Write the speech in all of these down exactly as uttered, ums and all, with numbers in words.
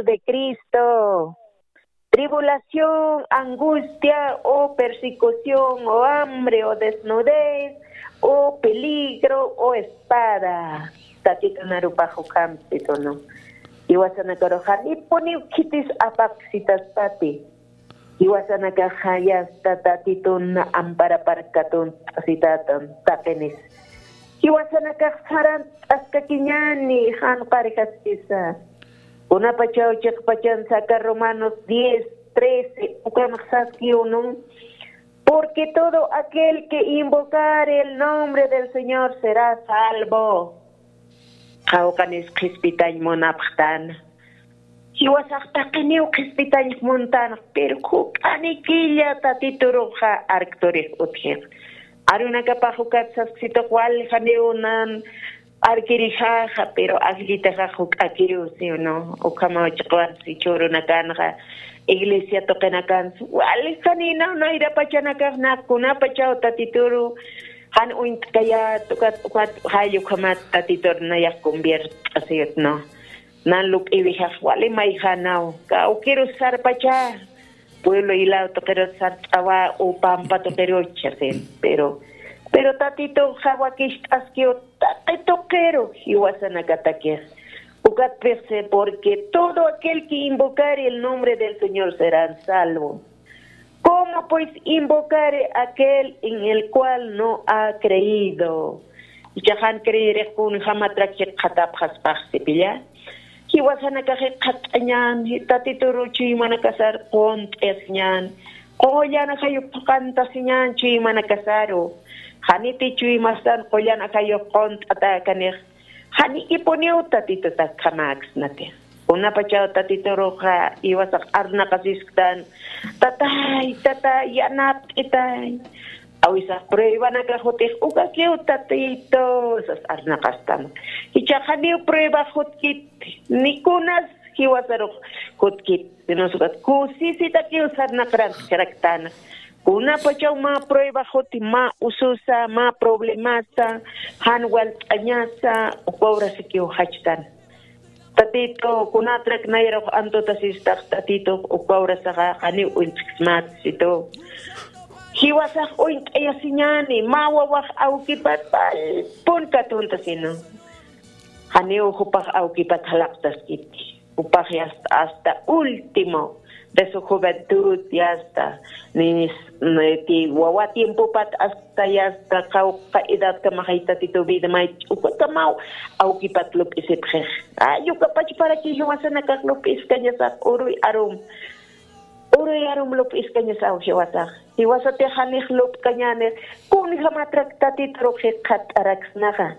de Cristo. Tribulación, angustia, o persecución, o hambre, o desnudez, o peligro, o espada. Tatitun arupax ukhampi, ¿no? Jiwasanakaruxa, nipuniw khitis apapxsitaspati. Jiwasanakaxa yasta Tatitun amparaparkatun t'asitatan taqinis. Jiwasanakax sarant'askakiñani, jan qarijaskisa. Kunapachaw chiqpachan saka Romanos diez trece, ukanxsaski unu. Porque todo aquel que invocare el nombre del Señor será salvo. Qawqanis qhispitañ munapxtan. Jiwasax taqiniw qhispitañ muntan, pero juk'anikilla Tatituruxa arkturix utjix. Arunakapax ukat sasksitux wal janiw nan arkirijaxa, pero ajllitaxa juk'akiw, ¿sí o no? Ukhamaw chiqwansi chhurunakanxa, iglesia tuqinakansi, wal janinaw nayrapachanakax naq kunapachaw Tatituru jan uñt'kayat, ukat, ukat, jay ukhamat Tatitur nayax conviert'asiyut, ¿no? Nan lup'iwijax wali mayjanaw, kawkiru sarpacha, pueblo ilaw tuqiru sart'awa, o pampa tuqiru chasin, pero, pero Tatituxa wakicht'askiw taqi tuqiru jiwasanakatakix. Ukat pixsi, porque todo aquel que invocare el nombre del Señor será salvo. ¿Cómo pues invocare aquel en el cual no ha creído? Ichaxan creerix kunjamatrak jikxatapxaspax sipilla. Jiwasanakax jikxat'añan, Tatituru chuymanakasar qunt'isiñan. Qullan ajayuq phuqantasiñan chuymanakasaru. Janiti chuymastan qullan ajayuq qunt'atäkanix. Janikipuniw Tatituta kamaksnati. Kunapachaw Tatituruxa jiwasax arnaqasisktan, tatay, tatay, yanapt'itay. Awisax pruebanaka jutix ukakiw Tatitu, sas arnaqastan. Jichhax janiw prueba jutkit, ni kunas jiwasarux jutkit, sino sukat kusisitakiw sarnaqran jiraktan. Kunapachaw mä prueba juti, mä ususa, mä problemasa, jan walt'añasa, uka urasikiw jachtan. Tatitu, kunatrak nayrux antutasistax Tatitu, uka urasaxa janiw uñt'ksmat situ. Jiwasax uñt'ayasiñani, mä wawax awkipat pun katuntasinu. Janiw jupax awkipat jalaqtaskiti. Jupax yasta hasta último de su juventud, yasta, ni, ni ti wawa tiempopat hasta yasta qawqha edadkamaxay Tatitu vida may ch'ukakamaw awkipat lup'isipxix. Ay, ukapachparaki jiwasanakax lup'iskañasax uruy arum. Uruy arum lup'iskañasaw jiwasax. Jiwasatix janix lup'kañänix, kunjamatrak Tatiturux jikxat'araksnaxa.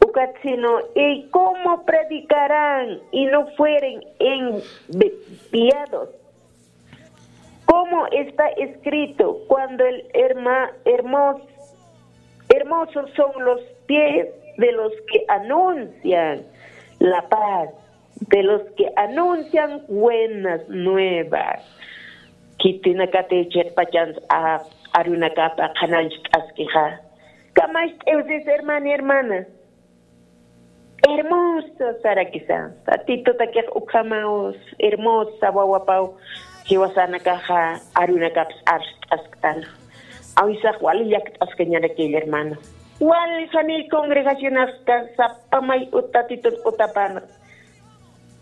Ukat sino, ¿y cómo predicarán y no fueren enviados? Como está escrito, cuando el herma-, hermos-, hermosos son los pies de los que anuncian la paz, de los que anuncian buenas nuevas. Khitinakati chiqpachansa arunakapa qhanañcht'askixa. Kamacht'iwsis, hermana, hermana. Hermoso sarakisa. Tatitutakix ukhamaw hermosa wawapaw jiwasanakaxa arunakaps arst'asktan. Awisax wali llakt'askañarakilla, hermana. Wali janiy congregacionaxka sapamay ut Tatitun utapana.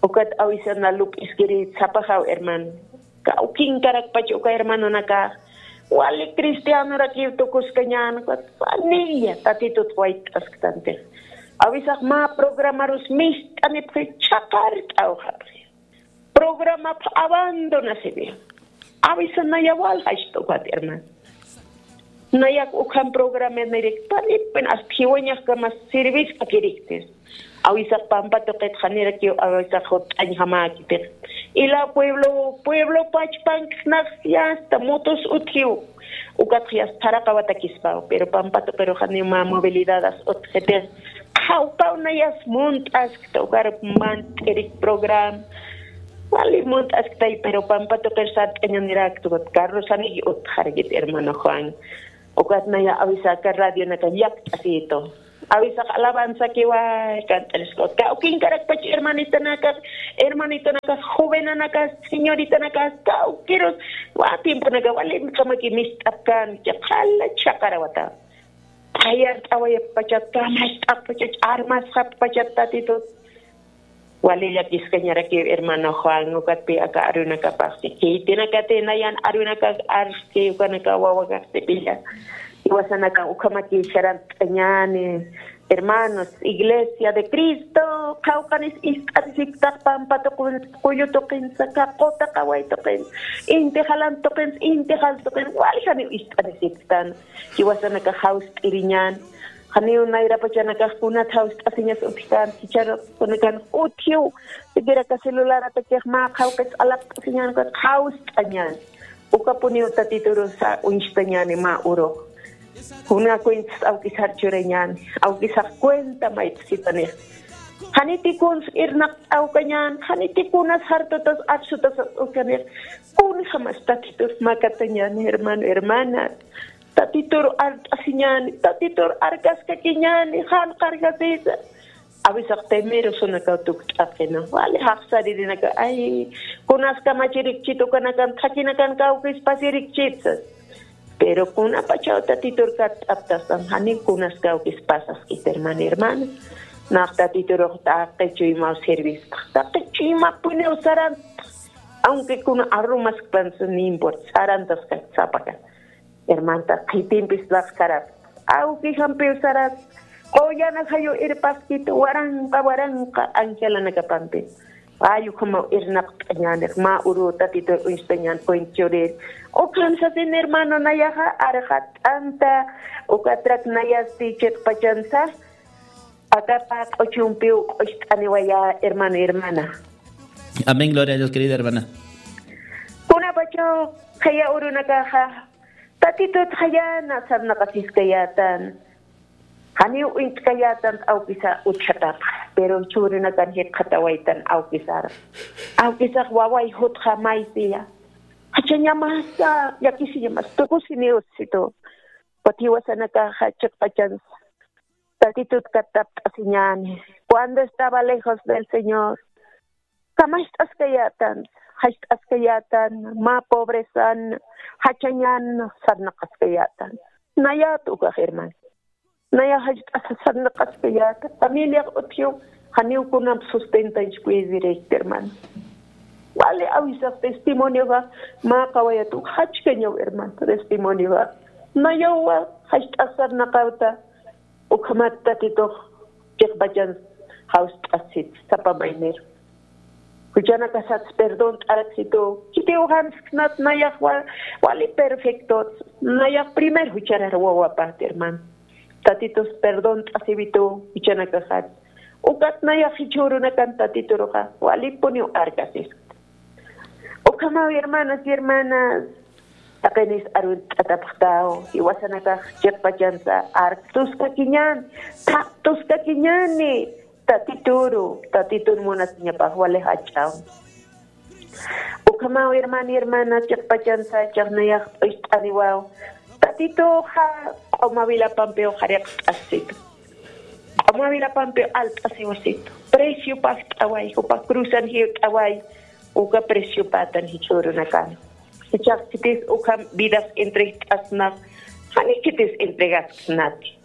Ukat awisana lup'iskiri sapaxaw, hermano. Kawkinkarakpach uka hermanonakax wali cristianorakiw tukuskañän, ukat wanilla Tatitut wayt'asktantix. Awisax mä programarus mist'anipxi, chhaqart'awxapxi. Programapx abandonasiwi. Awisa naya wal jachta ukat, hermano. Nayak ukham programanirikta, panipin hasta jiwañaxkamas serviskakiriktis. Awisax pampa tuqit janirakiw awisax jut'añ jamäkitix. Ila pueblo, pueblo pachpanksnax yasta motos utjiw. Ukatx yasta tharaqawatakispaw, pero pampa tuqiru janiw mä movilidadas utjitix. Qhawpaw nayas munt'askta, ukar mant'irik programa. Wali munt'asktay, pero pampa tuqir sart'añanirakta, ukat carrosaniki utjarakit, hermano Juan. Ukat naya awisaka radionaka llakt'asitu. Awisax alabanza kiwa kant'arisku. Kawkinkarakpach hermanitanakax, hermanitanakax, jovenanakas, señoritanakas, kawkirus, wa tiemponaka wali kamaki mist'apkan, chaqala chaqarawata. Ayart'awayapachat, kamacht'apachat, armasxapachat Tatitut. Wali llakiskañarakiw hermano Juan, ukatpi aka arunakapaxsi. Khitinakati nayan arunakax arski, ukanaka wawakaxsipilla. Iwasanaka ukhamaki sarant'añani. Hermanos, Iglesia de Cristo, qhawqanis ist'arisiptax pampa tuqin, kullu tuqinsa, kaquta qaway tuqin, inti jalan tuqin, inti jal tuqin, wali janiw ist'arisiptan. Jiwasanaka jawst'iriñan. Janiw nayrapachanakax kunat jawst'asiñas utjkan, jichharakunakan utjiw, siquiera ka celularatakixa mä qhawqis alaqt'asiñan, ukat jawst'añan. Ukapuniw Tatiturusa uñstañani mä urux. Kuna cuentas awkisar churañan, awkisax cuenta mayt'sitanix. Janiti kuns irnaqt'awkañan, janiti kunas jartutas apsutas utkanix. Kunjamas Tatitur makatañani, hermano, hermana. Tatitur art'asiñani, Tatitur arkaskakiñani, jan qarkasisa. Awisax temerosunakaw tukt'aqina, wali jaqsaririnaka, ay, kunas kamachirikchit ukanakan, thakinakan kawkis pasirikchitsas. Pero kunapachaw Tatitur katt'aptastan, jani kunas kawkis pasaskit, hermano, hermana. Nax Tatiturux taqi chuymaw servista, taqi chuymapuniw saranta. Aunque kuna arrumaskpansa, no importa, sarantaskasapakan. Hermanta, qhitimpis laqsarat. Awkijampiw sarat. Qullana jayu irpaskit, waranqa, waranqa angelanakapampi. Ay, ukhamaw irnaqt'añäni, mä uru Tatitur uñstañän cuenta churir. Ukham sasin hermano, nayaxa arxatt'anta, ukatrak nayasti chiqpachansa, akapa q'uchumpiw q'ucht'aniwaya, hermano, hermana. Amén, gloria a Dios, querida hermana. Kunapachaw qhiya urunakaxa, Tatitut jayana sarnaqasiskayätan. Janiw uñt'kayätan awkisa utjatapxa, pero jichhürunakan jikxatawaytan awkisar. Awkisax waway jutxa maysiya. Jachañamasa, llakisiñamasa, tukusiniw situ. Ukat jiwasanakaxa chiqpachansa. Tatitut katt'apt'asiñäni. Cuando estaba lejos del Señor, kamacht'askayätan, jacht'askayätan, mä pobrezan, jachañan sarnaqaskayätan. Nayät ukax, hermano. Nayax jacht'asa sarnaqaskayäta. Familiax utjiw, janiw kunamp sustentañch cuidirikta, hermano. Wali awisax testimonioxa, mä qawayat uk jachkañaw, hermano, testimonioxa. Nayaw jacht'as sarnaqawta. Ukhamat Tatitux chiqpachan jawst'asit, sapa mayniru. Juchanakasats perdón t'araksitu. Kitiw jansksnat nayax wa-, wali perfectot. Nayax primer jucharar wawapat, hermano. Tatitus perdón t'asiwitu, juchanakasats. Ukat nayax jichhürunakan Tatituruxa, walipuniw arkasist. Ukhamaw, hermanas y hermanas, taqinis arunt'atapxtaw, jiwasanakax chiqpachansa ark tuskakiñän, thaq tuskakiñäni, Tatituru, Tatitun munasiñapax wali jach'aw. Ukhamaw, hermano y hermana, chiqpachansa chaqnayax p'ucht'aniwaw, Tatituxa q'uma wilapampiw jariqt'asitu. Q'uma wilapampiw alt'asiwasitu. Precio pakt'away, jupa cruzan jiwt'away, uka precio patan jichhürunakan. Jichhax khitis ukham vidas entregt'asnax, jani khitis entregasksnati.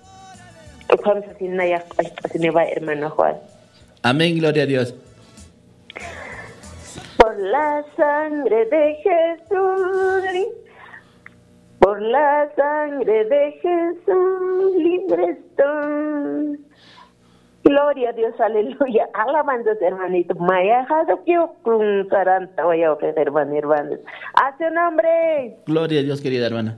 Ukham sasin nayax q'ucht'asiniwa, hermano Juan. Amén, gloria a Dios. Por la sangre de Jesús, li-, por la sangre de Jesús, libre estoy. Gloria a Dios, aleluya. Alabanzas, hermanito. Mayaxa dukiw kun saranta wayawqix, hermano, hermanos. A su nombre. Gloria a Dios, querida hermana.